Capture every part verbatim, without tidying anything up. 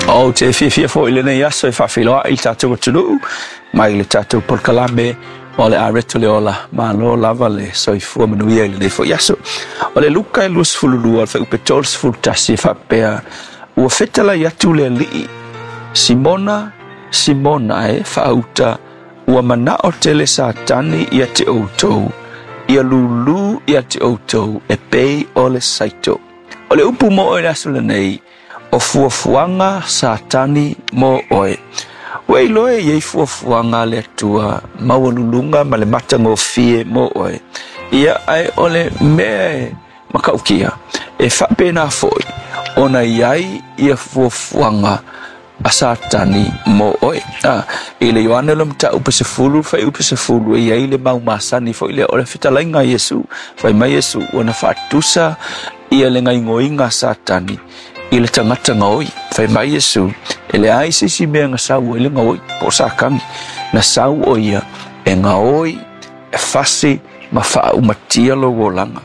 Ou te fiafia foi i lenei aso e faafeiloai i le tatou atunuu mai le tatou polokalame o le Areto le Ola. Malo lava le soifua manuia i lenei foi aso. O le Luka e luasefulu lua, le fuaiupu tolu sefulu tasi e faapea, ua fetalai atu le Alii, Simona, Simona e faauta, ua manao tele Satani ia te outou, ia lūlū ia te outou e pei o le saito. O le upu mo oe le aso lenei, o fuafuaga Satani mo oe. Ua iloa e iai fuafuaga a le Atua maualuluga ma le matagofie mo oe. Ia ae o le mea e makaukia, e faapena foi ona iai ia fuafuaga a Satani mo oe. Ah, i le Ioane le mataupu sefulu, fuaiupu sefulu, e iai le mau masani foi lea o le fetalaiga a Iesu. Fai mai Iesu, ua na faatusa ia le gaoioiga a Satani i le tagata gaoi. Fai mai Iesu, e leai se isi mea na sau ai le gaoi, po o Satani. Na sau o ia e gaoi, e fasi ma faaumatia lou olaga.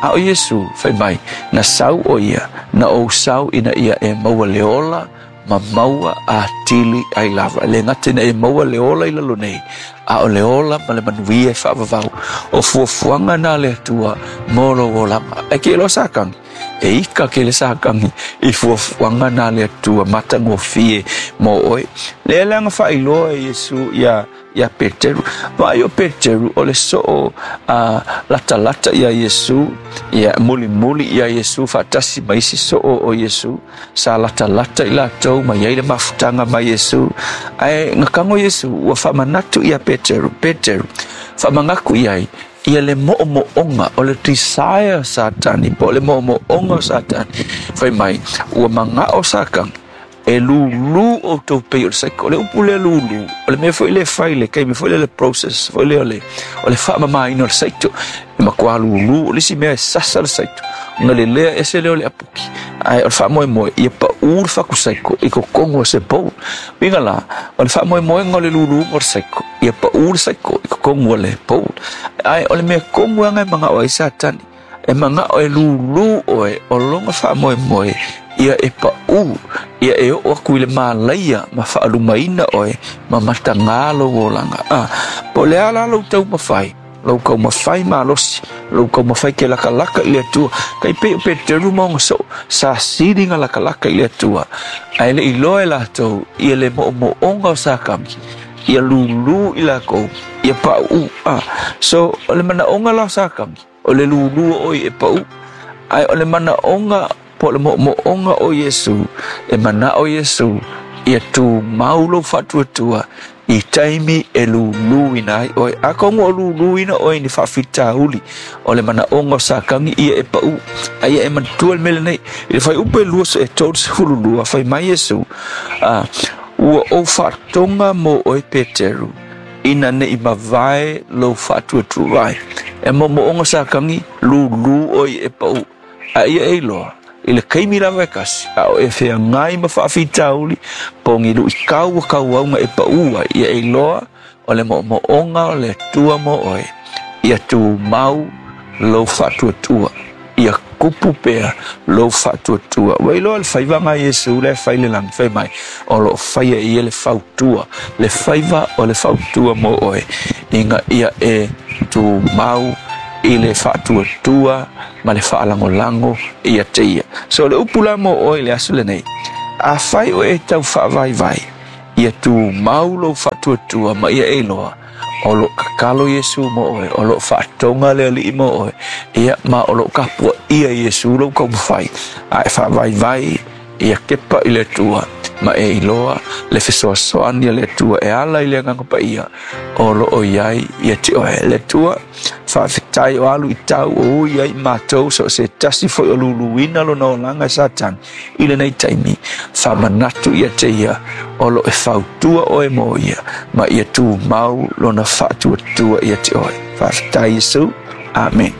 A o Iesu, fai mai, na sau o ia, na ou sau ina ia e maua le ola, ma maua atili ai lava. E le gata ina e maua le ola i lalo nei, a o le ola ma le manuia e faavavau. O fuafuaga na a le Atua mo lou olaga. Ae ke iloa Satani, e ika ke le Satani i fuafuaga na a le Atua matagofie mo oe. Lea leaga faailoa e Iesu ia ia Peteru. Vaai o Peteru o le soo uh, latalata ia Iesu, ia mulimuli ia Iesu faatasi ma isi soo o Iesu. Sa latalata i latou ma iai le mafutaga ma Iesu. Ae gakago Iesu ua faamanatu ia Peteru, Peteru, faamagaku i ai ia le mo'omo'oga o le desire Satani, po o le mo'omo'oga o Satani. Fai mai, ua maga'o Satani e lūlū outou pei o le saiko. O le upu lea lūlū, o le mea foi le fai le taimi foi lea le process foi lea o le, o le faamamaina o le saito. E matua lūlū, o le isi mea e sasa le saito. Ona le lea ese lea o le apuki. Ae o le faamoemoe, ia paū le fatu saiko i totonu o se bowl. Uiga la, o le faamoemoega o le lūlūga o le saiko, ia paū le saiko i totonu o le bowl. Ae o le mea komu aga e maga'o ai Satani, e maga'o e lūlū oe o lona faamoemoe ia e paū, ia e oo aku i le malaia ma faalumaina oe ma matagā lou olaga. Ah, po o le a la lou taumafai, lou taumafai malosi, lou taumafai ke lakalaka i le Atua, kai pei o Peteru ma ona soo, sa siliga lakalaka i le Atua, ae le iloa e latou ia le mo'omo'oga o Satani, ia lūlū i lakou, ia paʻu. Ah, so o le manaʻoga la o Satani, o le lūlū o oe e paʻu, ae o le manaʻoga po o le mo'omo'oga o Iesu, e mana'o Iesu ia tumau lou faatuatua i taimi e lūlūina ai oe. Atonu o lūlūina oe ni faafitauli, o le manaʻoga o Satani ia e paʻu, a ia e manatua le mea lenei. I le fuaiupu e lua e tolu sefulu lua, fai mai Iesu, ah, ua ou faatoga mo oe Peteru, ina nei mavae lou faatuatua ai. E mo'omo'oga Satani, lūlū oe e paʻu, a ia e iloa, i le kaimi lava e kasi, a o e feagai ma faafitauli, po o ni luʻitau ua tauauga e paʻu ai, ia e iloa o le mo'omo'oga o le Atua mo oe, ia tumau lou faatuatua, ia kupu pea lou faatuatua. Ua iloa le faivaga a Iesu le fai le lagi, fai mai, o loo faia e ia le fautua, le faiva o le fautua mo oe, ina ia e tumau i le faatuatua ma le faalagolago ia te ia. So le upu la mo oe le aso lenei, afai o e tau faavaivai, ia tumau lou faatuatua ma ia e iloa, o loo tatalo Iesu mo oe, o loo faatoga le Alii mo oe, ia ma o loo tapuaʻia Iesu lou taumafai, a e faavaivai ia kepa i le Atua, ma e iloa le fesoasoani a le Atua e ala i le Agaga Paia o loo iai ia te oe. Le Atua, faafetai o alu i tau o ui ai matou so o se tasi foi o luluina lona olaga e Satani i lenei taimi, faamanatu ia te ia o loo e fautua oe mo ia, ma ia tumau lona faatuatua ia te oe. Faafetai Iesu. Amen.